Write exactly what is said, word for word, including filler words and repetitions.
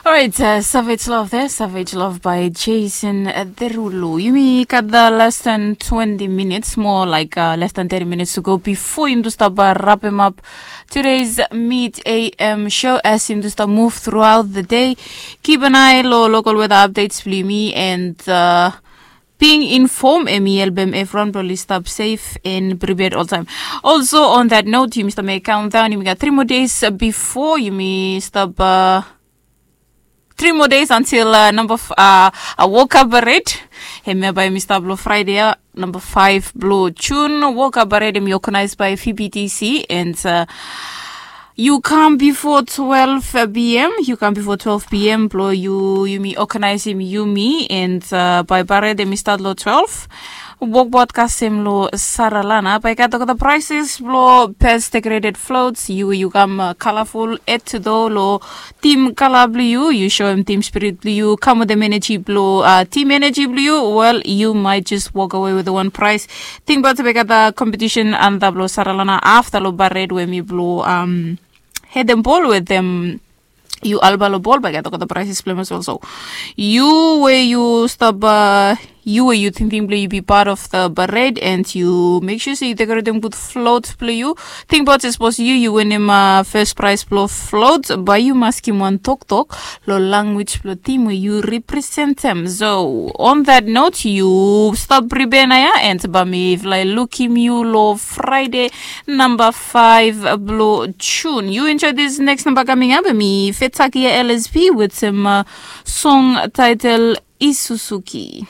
Alright, uh, Savage Love there, Savage Love by Jason uh, Derulo. Yumi got the less than twenty minutes, more like uh, less than thirty minutes to go before yumi to stop uh, wrap him up today's Mid A M show as yumi to stop move throughout the day. Keep an eye lo local weather updates bli yumi and uh, being informed emi helpem everyone blo oli stop safe and prepared all time. Also on that note, yumi stop make countdown, yumi got three more days uh, before yumi stop uh, three more days until uh, number f- uh, a woka parade. Hemia bai mi start blo Friday uh, number five blo June. Woka parade em organized by V B T C and uh, you come before twelve p.m. You come before twelve p.m. blo you yumi organize him yumi and uh, by parade em start lo twelve. Wok bot kasem lo Saralana bai gat olgeta prices blo best decorated floats. You you come uh, colorful add to do lo team kala blo you, you show him team spirit blo you, come with them energy blo uh, team energy blo you. Well, you might just walk away with the one prize. Think about the competition and the blo Saralana after lo parade where me blo um head them ball with them. You alba lo ball by get the prices play as well. So you where you stop uh, you where you thinking play you be part of the parade and you make sure so you decorate them good float play you. Think about it suppose you you win him uh, first prize blo float, but you must him one talk talk lo language blo team where you represent them. So on that note, you stop prepare na ya and ba mi if like look him you lo Friday number five blo June. You enjoy this next number coming up. Mi Fetaki L S P with some uh, song title Isuzuki.